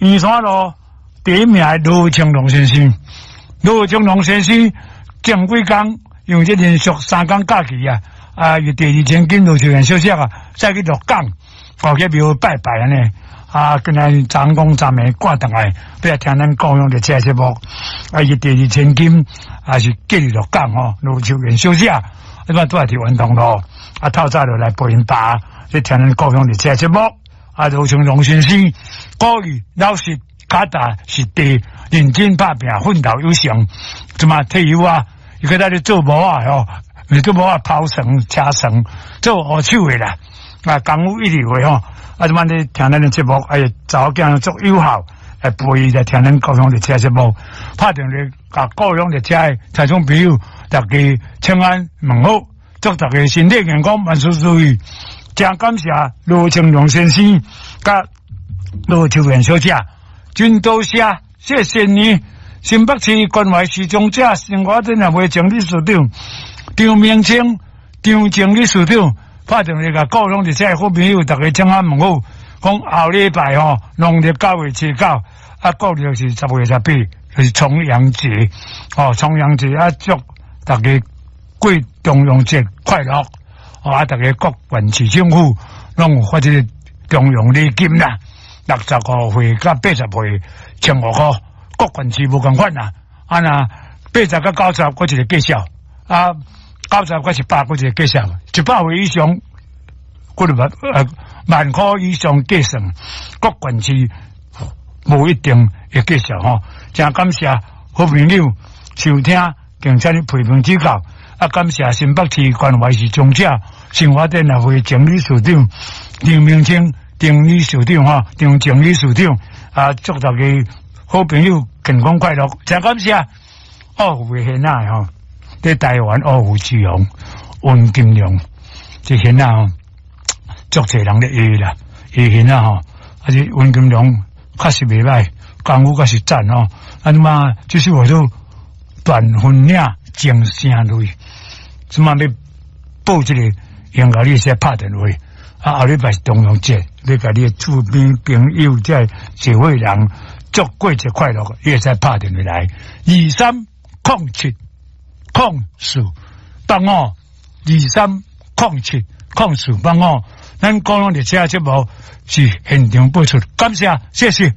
圆山路第一名的羅清龍先生，羅清龍先生前幾工因為這連續3工假期啊，啊，伊第二千金羅秀燕小姐啊，再去鹿港，哦，去廟拜拜按呢。啊，今仔昨昏昨暝趕轉來，欲來聽咱故鄉的這節目。啊，伊第二千金也是嫁佇鹿港吼，羅秀燕小姐，這擺拄來佇元通路，啊，透早就來陪𪜶爸，咧聽咱故鄉的這節目。啊，羅清龍先生，鼓勵老實、腳踏實地、認真拍拚、奮鬥有成，這馬退休啊，伊閣在咧做模仔吼，毋是做模仔跑床、車床，做烏手的啦，啊，功夫一流的吼。啊，這擺咧聽咱的節目，哎，查某囝足友好，來陪伊來聽咱故鄉的這節目，拍電話共故鄉的遮的聽眾朋友，大家請安問好，祝大家身體健康，萬事如意。真感謝羅清龍先生佮羅秋蓮小姐，真多謝，謝謝你。新北市關懷視障者生活展覽會前理事長張明清、張靜理事長，拍電話共故鄉的遮好朋友，大家請安問好，講後禮拜吼，農曆9月7、9，啊，國曆是10月18，就是重陽節，哦，重陽節啊，祝大家過重陽節快樂，哦，啊，大家各縣市政府攏有發這个重陽禮金啦，65歲佮80歲1500箍，各縣市無仝款啦，啊若80佮90，閣一个介紹，啊，90佮100，閣一个介紹，100歲以上，閣萬塊以上計算，各縣市無一定會介紹吼。真感謝好朋友收聽，並且你批評指教，啊，感謝新北市關懷視障者生活展覽會前理事長張明清張理事長吼，張前理事長啊，祝大家好朋友健康快樂，真感謝。哦，有的囡仔吼，佇台灣惡虎之王溫金龍，這囡仔吼，足濟人咧愛啦，伊囡仔吼，啊這溫金龍確實袂歹，功夫確實讚吼。啊，你媽就是話做斷分嶺情聲淚，這馬欲報這個，應該你會使拍電話。啊，後禮拜是重陽節，欲共你的厝邊朋友這社會人祝過節快樂，你會使拍電話來23070485，23070485。咱講攏佇這節目是現場播出，感謝，謝謝。